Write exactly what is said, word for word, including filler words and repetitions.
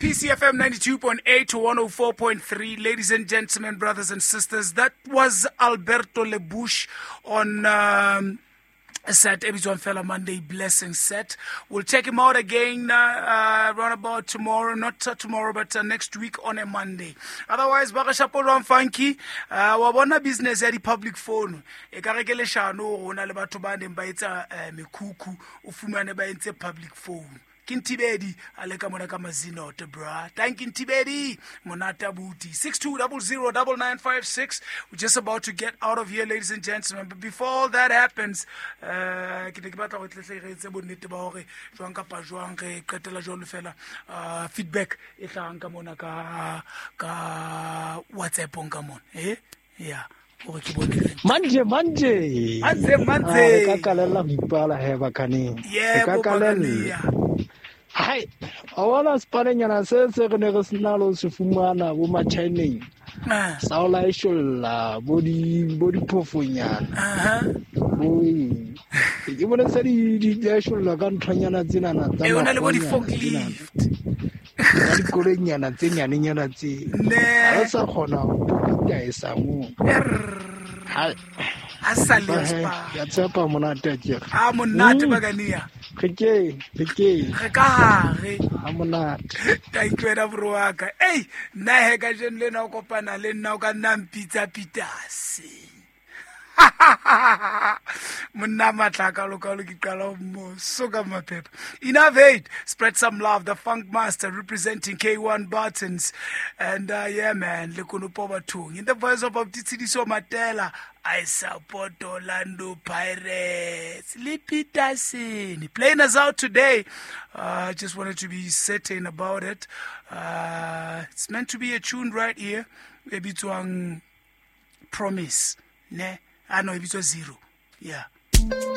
P C F M ninety-two point eight to one oh four point three. Ladies and gentlemen, brothers and sisters, that was Alberto Lebush on um, a set, e bitswang fela Monday Blessing set. We'll check him out again uh, uh, round about tomorrow, not uh, tomorrow, but uh, next week on a Monday. Otherwise, ba re shapolwang funky, uh, wa bona business ya di-public phone. E ka re ke leshano ho na le batho ba neng ba etsa uh, mekhukhu, o fumane ba entse public phone. Ke Ntibedi a le ka mona ka Mazinote, bra. Thank you, Ntibedi. Monate abuti. six two zero zero nine nine five six. We're just about to get out of here, ladies and gentlemen. But before all that happens, uh, ke ne ke batla go tletle re etse bonnete ba hore jwang kapa jwang re qetela jwalo fela uh, feedback e hlahang ka mona ka ka WhatsApp-ong ka mona. Eh? Yeah. Hore ke bone ka Manje manje. Manje, manje. Ah, re ka kalella ho ipala he bakaneng. Re ka Yebo, kalella. Bakania. Hai, a bona sepanenyana se se re ne re sena le ho se fumana bo Machineng. Ah. Sa ho laesholla bo di bo diphofonyana. Aha. Bo eng. Ke bone se di di laesholla ka nthonyana tsenana tsa Eh, o na le bo makgwanyana di-forklift. Tsenana. Ka dikoloinyana tse nyanenyana tse. Ne. Ha re sa kgona ho pitaesa moo. Hai. A sa le Ba he, spa. ke a tshepa monate akere. A monate Mm. Bakania. Re ke, re ke. Re ka hare. Ha monate. Thank you wena bro wa ka. Ei, nna he ka jeno lena o kopana le nna o ka nna mpitsa Peters. Monna matla kalo kalo ke qala ho mo soka maphepha. Innovate, spread some love, the Funk Master representing K one Buttons. And uh, yeah man, le konopo bathong. In the voice of Tshidiso Matela, I support Orlando Pirates. Le Peterson. Playing us out today. I uh, just wanted to be certain about it. Uh, it's meant to be a tune right here. E bitswang Promise. Ne? Ah no, e bitswa Zero. Yeah.